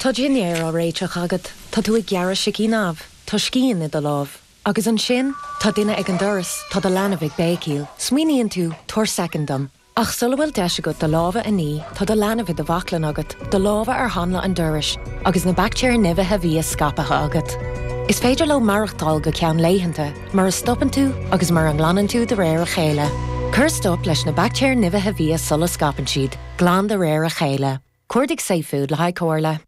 Tá dinnéar á réiteach agat, tá tú ag gearradh sicín amh, tá scian i do lámh. Agus ansin, tá duine ag an doras, tá do leanbh ag béicíl. Smaoiníonn tú, tabhair soicind dom. Ach sula bhfuil deis agat do lámha a ní, tá do leanbh i do bhaclainn agat, do lámha ar hanla an dorais, agus na baictéir nimhithe bhia scaipthe agat. Is féidir leo maireachtáil go ceann laethanta, mura stopann tú agus mura nglanann tú de réir a chéile. Cuir stop leis na baictéir nimhithe bhia sula scaipeann siad. Glan de réir a chéile. Cuardaigh safefood le haghaidh comhairle.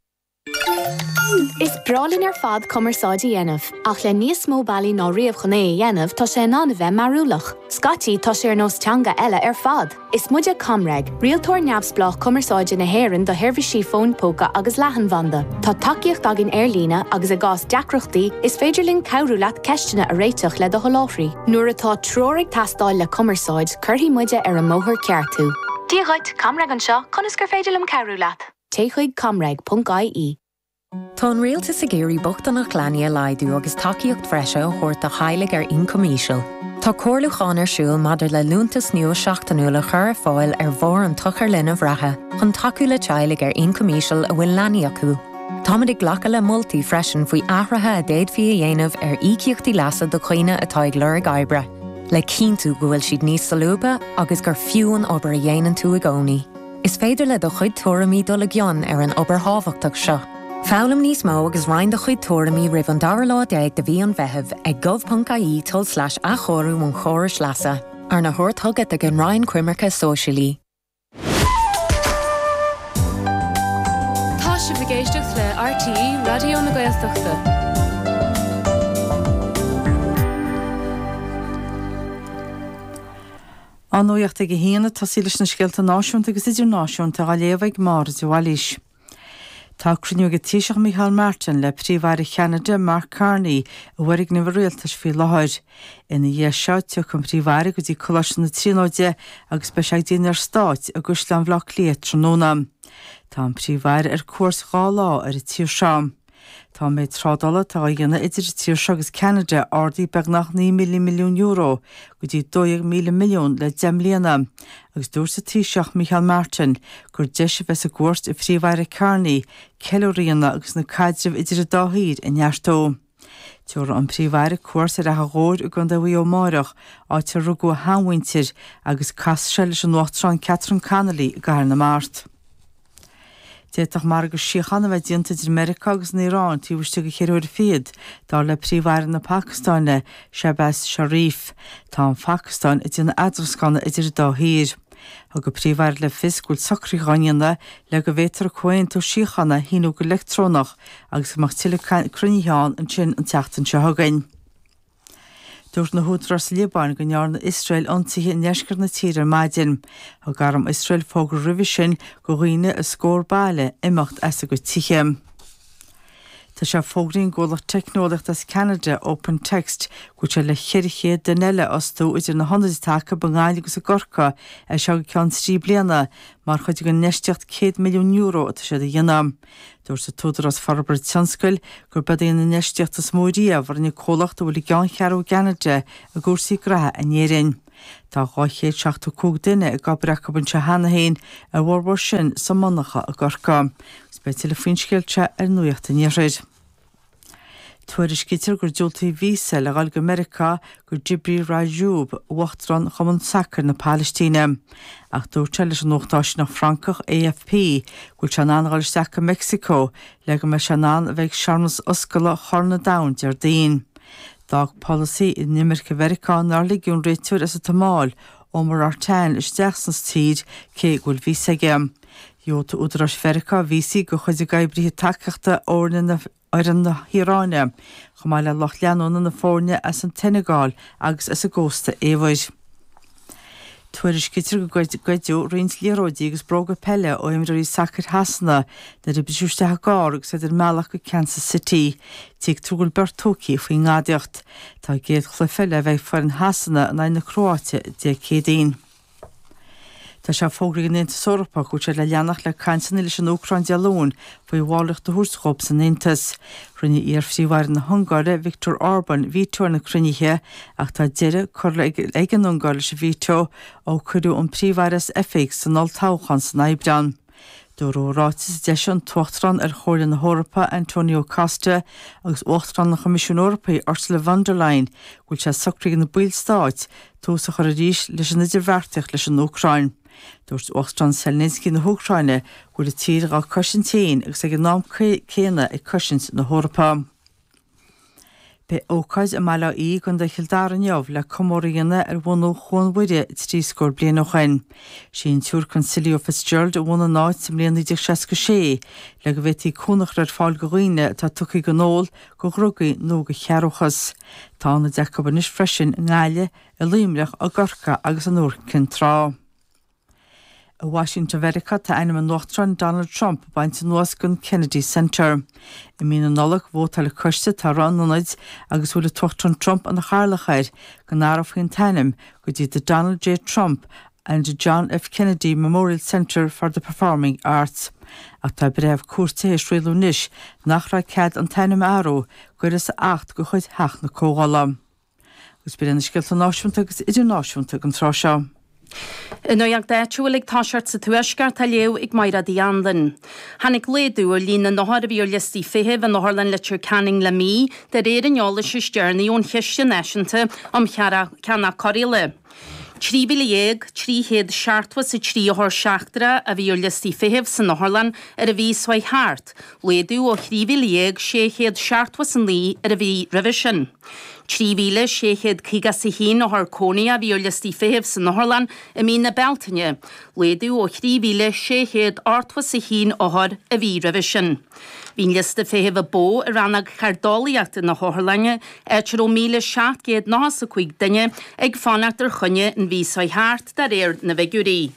Is breá linn ar fad cumarsáid a dhéanamh, ach le níos mó bealaí ná riamh chun é a dhéanamh, tá sé in ann a bheith mearúlach. Scaití, tá sé ar nós teanga eile ar fad! Is muide ComReg, rialtóir neamhspleách cumarsáide na hÉireann do sheirbhísí fóin póca agus leathanbhanda. Tá tacaíocht againn ar líne agus i gcás deacrachtaí, is féidir linn cabhrú leat ceisteanna a réiteach le do sholáthraí. Nuair atá treoir ag teastáil le cumarsáid, cuirfidh muide ar an mbóthar ceart thú. Dia dhuit, ComReg anseo, conas gur féidir liom cabhrú leat? Téigh chuig comreg.ie. Tá an Rialtas ag iarraidh bochtaineacht leanaí a laghdú agus tacaíocht bhreise a thabhairt do theaghlaigh ar ioncam íseal. Tá comhairliúchán ar siúl maidir le liúntas nua seachtainiúil a chur ar fáil ar bharr an tsochair linbh reatha chun tacú le teaghlaigh ar ioncam íseal a bhfuil leanaí acu. Táimid ag glacadh le moltaí freisin faoi athruithe a d'fhéadfaí a dhéanamh ar íocaíochtaí leasa do dhaoine atá ag lorg oibre, le cinntiú go bhfuil siad níos solúbtha agus gur fiú an obair a dhéanann tú i gcónaí. Is féidir le do chuid tuairimí dul i gcion ar an obair thábhachtach seo. Foghlaim níos mó agus roinn do chuid tuairimí roimh an dara lá déag de mhí an Mheithimh ag gov.ie tulslais athchóiriú an chórais leasa, arna thabhairt chugat ag an Roinn Coimirce Sóisialaí. Tá sibh ag éisteacht le RTÉ Raidió na Gaeltachta. An nuacht ag a haon ag tosaí leis na scéalta náisiúnta agus idirnáisiúnta á léamh ag Máire de Bhailís. Tá cruinniú ag an Taoiseach Micheál Martin le Príomh-Aire Cheanada Mark Carney i bhfoirgneamh an Rialtais faoi láthair. Ina dhiaidh seo tiocfaidh an Príomh-Aire go dtí Coláiste na Tríonóide agus beidh sé ag dinnéar stáit i gCaisleán Bhaile Átha Cliath tráthnóna. Tá an Príomh-Aire ar cuairt dá lá ar an tír seo. Tá an méid trádála atá á dhéanamh idir an tír seo agus Ceanada ardaithe beagnach €9,000 milliún go dtí 12,000 milliún le 10 mbliana agus dúirt an Taoiseach Micheál Martin gur deis a bheas i gcuairt an Phríomh-Aire Carney ceiliúradh a dhéanamh agus na caidrimh idir an dá thír a neartú. Tabharfaidh an Príomh-Aire cuairt ar Achadh Ghobhair i gContae Mhaigh Eo amáireach, áit ar rugadh a sheanmhuintir, agus casfaidh sé leis an Uachtarán Catherine Connolly i gCathair na Mart. D'fhéadfadh margadh síochána a bheith déanta idir Meiriceá agus an Iaráin taobh istigh de cheithre huaire fichead, dar le Príomh-Aire na Pacastáine, Shehbaz Sharif. Tá an Phacastáin ag déanamh eadroscána idir an dá thír. Thug an Príomh-Aire le fios go bhfuil socruithe á ndéanamh le go bhféadfar an comhaontú síochána a shíniú go leictreonach agus go mbeadh tuilleadh cruinnithe ann ansin an tseachtain seo chugainn. Dúirt na húdaráis sa Liobáin go ndearna Iosrael ionsaithe i ndeisceart na tíre ar maidin. Thug arm Iosrael fógra roimhe sin do dhaoine i scór baile imeacht as a gcuid tithe. Tá sé fógraithe ag an gcomhlacht teicneolaíochta as Ceanada, Open Text, go bhfuil sé le 400 duine eile a fhostú idir na hionaid atá acu i nGaillimh agus i gCorcaigh as seo go ceann trí bliana mar chuid den infheistíocht €100 milliún atá siad a dhéanamh. Dúirt an tÚdarás Forbartha Tionscail gurb í an infheistíocht is mó riamh a rinne comhlacht a bhfuil a gceanncheathrú i gCeanada i gcúrsaí graithe in Éirinn. Tá 275 duine ag obair acu anseo cheana féin, a bhformhór sin sa monarcha i gCorcaigh. Agus beidh tuilleadh faoin scéal seo ar Nuacht an Iarthair. Tuairiscítear gur diúltaíodh víosa le dhul go Meiriceá do Jibril Rajoub, Uachtarán Chumann Sacair na Palaistíne. Ach dúirt sé leis an nuacht áisineach Francach AFP go bhfuil sé in ann a dhul isteach go Meicsiceo le go mbeidh sé in ann a bheith ag searmanas oscailte Chorn an Domhain Déardaoin. D'fhág polasaí inimirce Mheiriceá nár ligeadh an réiteoir as an tSomáil, Omar Artan, isteach sa tír cé go bhfuil víosa aige. Dhiúltaigh údaráis Mheiriceá víosaí do chuid d'oibrithe tacaíochta fhoirne na fhoireann na hIaráine, chomh maith le lucht leanúna na foirne as an tSeineagáil agus as an gCósta Eabhair. Tuairiscítear gur goideadh roinnt liathróidí agus bróga peile ó imreoirí sacair Shasana nuair a briseadh isteach i gcarr agus iad ar a mbealach go Kansas City. Tuigtear go bhfuil beirt tógtha faoin ngadaíocht. Tá a gcéad chluiche le bheith ag foireann Shasana in aghaidh na Cróáite Dé Céadaoin. Tá sé fógraithe ag an Aontas Eorpach go bhfuil siad le leanacht le cainteanna leis an Úcráin Dé Luain faoi bhallraíocht a thabhairt dhóibh san Aontas. Rinne iar-Phríomh-Aire na hUngáire, Viktor Orban, veto ar na cruinnithe ach tá deireadh curtha ag an Ungáir leis an veto ó cuireadh an Príomh-Aire as oifig san olltoghchán san Aibreán. Dúradh i ráiteas a d'eisigh an tUachtarán ar Chomhairle na hEorpa, Antonio Costa, agus Uachtarán an Choimisiúin Eorpaigh, Ursula von der Leyen, go bhfuil sé socraithe ag na ballstáit tús a chur arís leis an idirbheartaíocht leis an Úcráin. Dúirt Uachtarán Zelensky na hÚcráine go bhfuil a tír dhá cosaint féin agus ag an am céanna ag cosaint na hEorpa. Beidh ócáid i mBaile Átha Í i gContae Chill Dara inniu le comóradh a dhéanamh ar bhunú Chuan Mhuire 30 bliain ó shoin. Sé an tSiúr Consilio Fitzgerald a bhunaigh an áit sa mbliain 1966 le go bhféadfaí cúnamh a chur ar fáil go dhaoine atá tugtha don ól, go dhrugaí nó go cearrbhachas. Tá ionaid acu anois freisin i nGaillimh, i Luimneach, i gCorcaigh agus in Iúr Cinn Trá. I Washington Mheiriceá tá ainm an Uachtaráin Donald Trump bainte anuas den Kennedy Center. I mí na Nollag vótáil coiste atá i rith an ionaid agus a bhfuil an tUachtarán Trump ina chathaoirleach air go n-athrófaí an t-ainm go dtí The Donald J Trump and John F Kennedy Memorial Center for the Performing Arts. Ach tá breitheamh cúirte théis rialú anois nach raibh cead an t-ainm a athrú d'uireasa acht de chuid Theach na Comhdhála. Agus b'in iad na scéalta náisiúnta agus idirnáisiúnta don tráth seo. An nuacht áitiúil ag toiseacht sa Tuaisceart á léamh ag Mairéad Uí Anluain. Tháinig laghdú ar líon na n-othar a bhí ar liostaí feithimh in Otharlann Leitir Ceanainn le mí, de réir an eolais is deireanaí ón Chiste Náisiúnta um Cheannach Cóireála. 13,373 othar seachtrach a bhí ar liostaí feithimh san otharlann ar an mhí seo chuaigh thart, laghdú ó 13,679 ar an mhí roimhe sin. 3,651 othar cónaithe a bhí ar liostaí feithimh san otharlann i mí na Bealtaine, laghdú ó 3,681 othar an mhí roimhe sin. Bhí an liosta feithimh a ba mhó i rannóg chairdeolaíochta na hotharlainne, áit a raibh 1,795 duine ag fanacht ar choinne an mhí seo chuaigh thart, de réir na bhfigiúirí.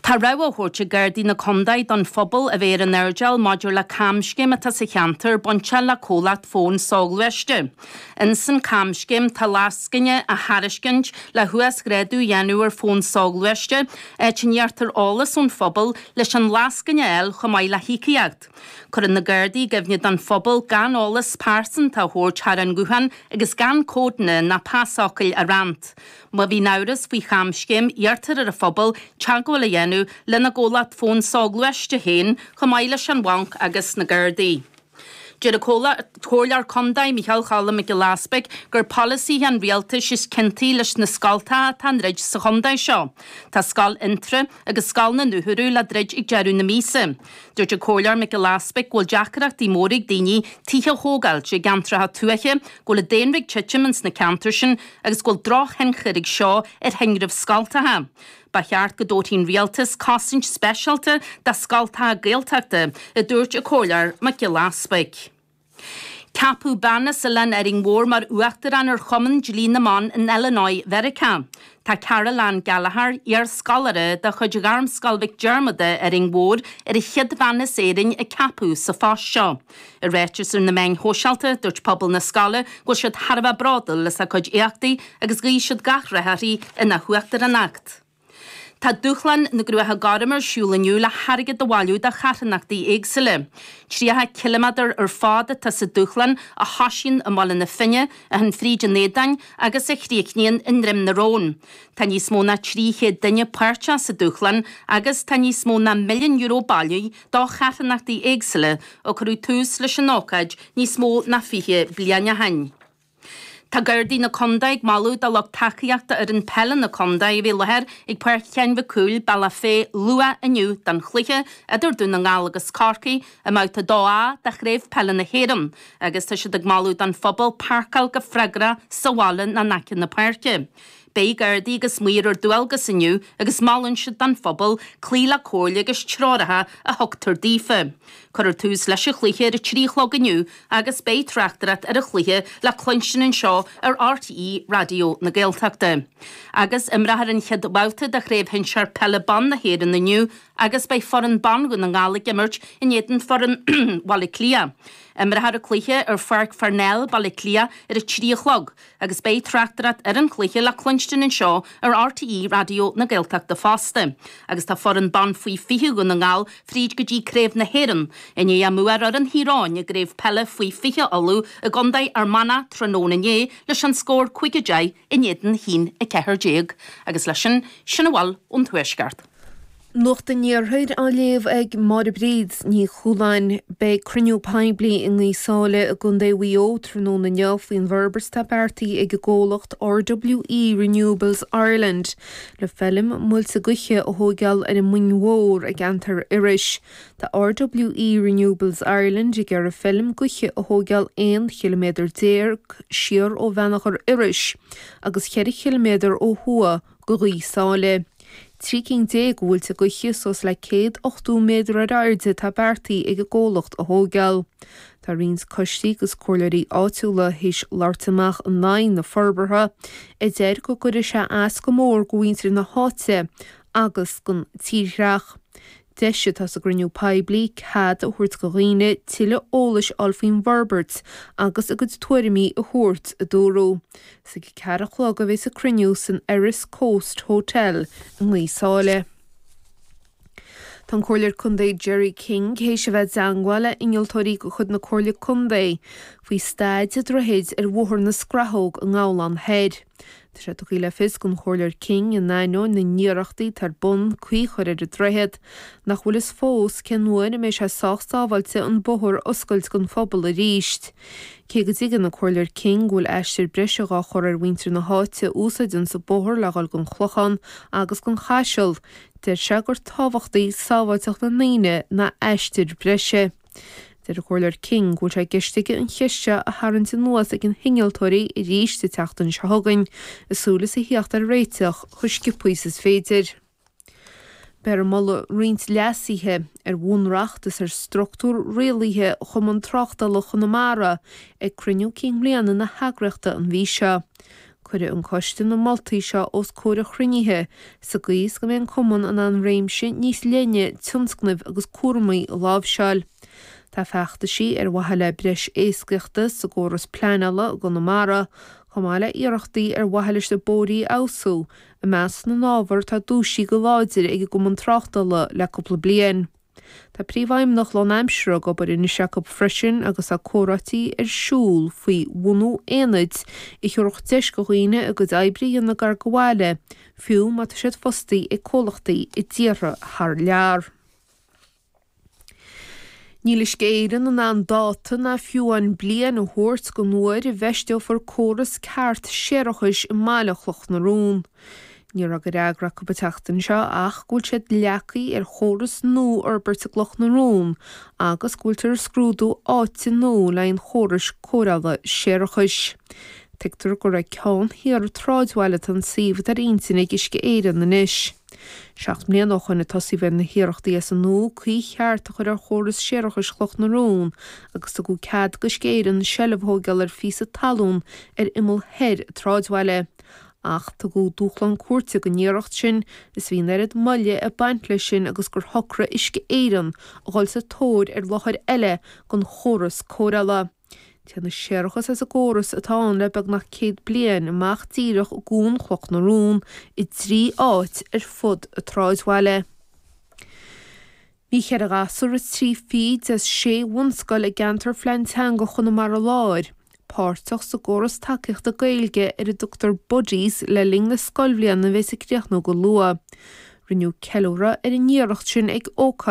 Tá rabhadh á thabhairt ag Gardaí na Condae don phobal a bheith ar an airdeall maidir le camscéim atá sa cheantar bainteach le comhlacht fóin soghluaiste. Ins an camscéim tá lascaine á thairiscint le huasghrádú a dhéanamh ar fón soghluaiste, áit a n-iarrtar eolas ón phobal leis an lascaine a fháil chomh maith le híocaíocht. Cuireann na Gardaí i gcuimhne don phobal gan eolas pearsanta a thabhairt thar an nguthán agus gan códanna ná pasfhocail a roinnt. Má bhíonn amhras faoi chamscéim, iarrtar ar an phobal teagmháil a dhéanamh lena gcomhlacht fóin soghluaiste féin chomh maith leis an bhanc agus na Gardaí. Deir an Comhairleoir Condae Micheál Choilm Mac Giolla Easpaig gur polasaithe an rialtais is ciontaí leis na scoltacha atá á ndruid sa chondae seo. Tá Scoil Fhionntrá agus Scoil na nDútharadh le druid ag deireadh na míosa. Dúirt an Comhairleoir Mac Giolla Easpaig go bhfuil deacrachtaí móra ag daoine tithe a thógáilt i gceantracha tuaithe, go bhfuil an daonra ag titim ins na ceantair sin agus go bhfuil drochthionchar ag seo ar thinreamh scoltacha. Ba cheart go dtabharfaidh an Rialtas cosaint speisialta do scoltacha Gaeltachta, a dúirt an Comhairleoir Mac Giolla Easpaig. Ceapadh bean as Oileán Árainn Mhór mar Uachtarán ar Chumann Dlí na mBan in Illinois Mheiriceá. Tá Carol Ann Gallagher, iar-scoláire de chuid Ghairmscoil Mhic Diarmada, Árainn Mhór, ar an chéad bhean as Éirinn a ceapadh sa phost seo. I ráiteas ar na meáin shóisialta, dúirt pobal na scoile go bhfuil siad thar a bheith bródúil as a cuid éachtaí agus ghuigh siad gach rath uirthi ina huachtaránacht. Tá Dúshlán na gCruacha Gorma ar siúl inniu le hairgead a bhailiú do charthanachtaí éagsúla. 30 ciliméadar ar fad atá sa dúshlán a thosaíonn i mBaile na Finne, a théann fríd an Éadáin agus a chríochnaíonn i nDroim na Rón. Tá níos mó ná 300 duine páirteach sa dúshlán agus tá níos mó ná €1,000,000 bailithe do charthanachtaí éagsúla ó cuireadh tús leis an ócáid níos mó ná 20 bliain ó shin. Tá Gardaí na Condae ag moladh do lucht tacaíochta fhoireann peile na condae a bheith i láthair ag Páirc Sheáin Mhic Cumhaill, Bealach Féich luath inniu don chluiche idir Dún na nGall agus Corcaigh i mbabhta 2A de Chraobh Peile na hÉireann agus tá siad ag moladh don phobal páirceáil go freagrach sa bhaile nó in aice na páirce. Beidh Gardaí agus maoir ar dualgas inniu agus molann siad don phobal cloí le comhairle agus treoracha a thugtar daofa. Cuirfear tús leis an chluiche ar a 3 a chlog inniu agus beidh tráchtaireacht ar an chluiche le cluinstin anseo ar RTÉ Raidió na Gaeltachta. Agus imreofar an chéad bhabhta de Chraobh Shinsear Peile Ban na hÉireann inniu agus beidh foireann ban Dhún na nGall ag imirt in éadan foireann Bhaile Átha Cliath. Imreofar an cluiche ar Pháirc Pharnell, Baile Átha Cliath ar a 3 a chlog. Agus beidh tráchtaireacht ar an chluiche le cluinstin anseo ar RTÉ Raidió na Gaeltachta fosta. Agus tá foireann ban faoi 20 Dhún na nGall fríd go dtí Craobh na hÉireann, i ndiaidh a mbua ar fhoireann Thír Eoghain i gCraobh Peile faoi 20 Uladh i gContae Fhear Manach tráthnóna inné leis an scór 5-10 in éadan 1-14. Agus leis sin, sin a bhfuil ón Tuaisceart. Nuacht an Iarthair á léamh ag Máire Bríd Ní Chualáin. Beidh cruinniú poiblí i nGaoth Sáile i gContae Mhaigh Eo tráthnóna inniu faoin bhforbairt atá beartaithe ag an gcomhlacht RWE Renewables Ireland le feilm muilte gaoithe a thóigeáil ar an mBinn Mhór i gceantar Iorrais. Tá RWE Renewables Ireland ag iarraidh feilm gaoithe a thóigeáil 11 chiliméadar siar ó Bheannachar Iorrais agus 4 chiliméadar ó thuaidh go Gaoth Sáile. 13 cinn de mhuilte gaoithe suas le 180 méadar ar airde atá beartaithe ag an gcomhlacht a thóigeáil. Tá roinnt coistí agus comhairleoirí áitiúla théis labhairt amach in aghaidh na forbartha, a deir go gcuirfidh sé as go mór go mhuintir na háite agus don tírdhreach. Deis atá sa gcruinniú poiblí cead a thabhairt go dhaoine tuilleadh eolais a fháil faoin bhforbairt agus a gcuid tuairimí a thabhairt, a dúradh. Is ag a ceathair a chlog a bheas an cruinniú san Erris Coast Hotel i nGaoth Sáile. Tá an Comhairleoir Contae Gerry King théis a bheith i dteangmháil le innealtóirí de chuid na Comhairle Contae faoi staid an droichid ar Bhóthar na Scrathóg i nGabhlán Thoir. Tá sé tugtha le fios don Chomhairleoir King, in ainneoin na n-iarrachtaí atá ar bun caoi a chur ar an droichead, nach bhfuil fhios fós cén uair a mbeidh sé sách sábháilte an bóthar a oscailt don phobal arís. Cé go dtuigeann an Comhairleoir King go bhfuil aistear breise dhá chur ar mhuintir na háite a úsáideanns an bóthar le dhul don Chlochán agus don Chaiseal, deir sé gur tábhachtaí sábháilteacht na ndaoine ná aistear breise. Deir an Comhairleoir King go bhfuil sé i gceist aige an cheist seo a tharraingt anuas ag na hinnealtóirí arís an tseachtain seo chugainn, i súil is a theacht ar réiteach chomh sciobtha is is féidir. Beifear ag moladh roinnt leasuithe ar bhunreacht is ar struchtúr rialaithe Chumann Tráchtála Chonamara ag cruinniú cinn bliana na heagraíochta an mhí seo. Cuirfidh an coiste na moltaí seo os comhair an chruinnithe sa gcaoi is go mbeidh an Cumann in ann réimse níos leithne tionscnaimh agus cúramaí a láimhseáil. Tá feachtaisí ar mhaithe le breis éascaíochta sa gcóras pleanála i gConamara, chomh maith le iarrachtaí ar mhaithe leis na bóithrí a fheabhsú, i measc na n-ábhar atá dúisithe go láidir ag an gCumann Tráchtála le cúpla bliain. Tá príomhfheidhmeannach lánaimseartha ag obair anois acu freisin agus tá comhráití ar siúl faoi bhunú aonaid a thabharfadh deis do dhaoine a gcuid oibre a dhéanamh gar do bhaile, fiú má tá siad fostaí ag comhlachtaí i dtíortha thar lear. Níl Uisce Éireann in ann dáta ná fiú amháin bliain a thabhairt don uair a bhfeisteofar córas ceart séarachais i mbaile Chloch na Rón. Ní raibh de fhreagra acu an tseachtain seo ach go bhfuil siad leagtha ar chóras nua a fhorbairt i gCloch na Rón agus go bhfuiltear ag scrúdú áite nua le haghaidh an chórais cóireála séarachais. Tuigtear gur ag ceann thiar an tsráidbhaile atá an suíomh atá ar intinn ag Uisce Éireann anois. Seacht mbliana ó shoin a tosaíodh ar na hiarrachtaí as an nua caoi cheart a chur ar chóras séarachais Chloch na Rón agus tugadh cead d'Uisce Éireann seilbh a thóigeáil ar phíosa talún ar imeall thoir an tsráidbhaile. Ach tugadh dúshlán cúirte don iarracht sin is bhí an oiread moille ag baint leis sin agus gur shocraigh Uisce Éireann a dhul sa tóir ar láthair eile don chóras cóireála. Téann an séarachas as an gcóras atá ann le beagnach 100 bliain amach díreach i gCuan Chloch na Rón i dtrí áit ar fud an tsráidbhaile. Bhí cheithre ghasúr is trí fichid as sé bhunscoil i gceantar Phlean Teanga Chonamara Láir páirteach sa gcóras tacaíochta Gaeilge ar a dtugtar Buddies le linn na scoilbhliana a bheas ag críochnú go luath. Rinneadh ceiliúradh ar an iarracht sin ag ócáid.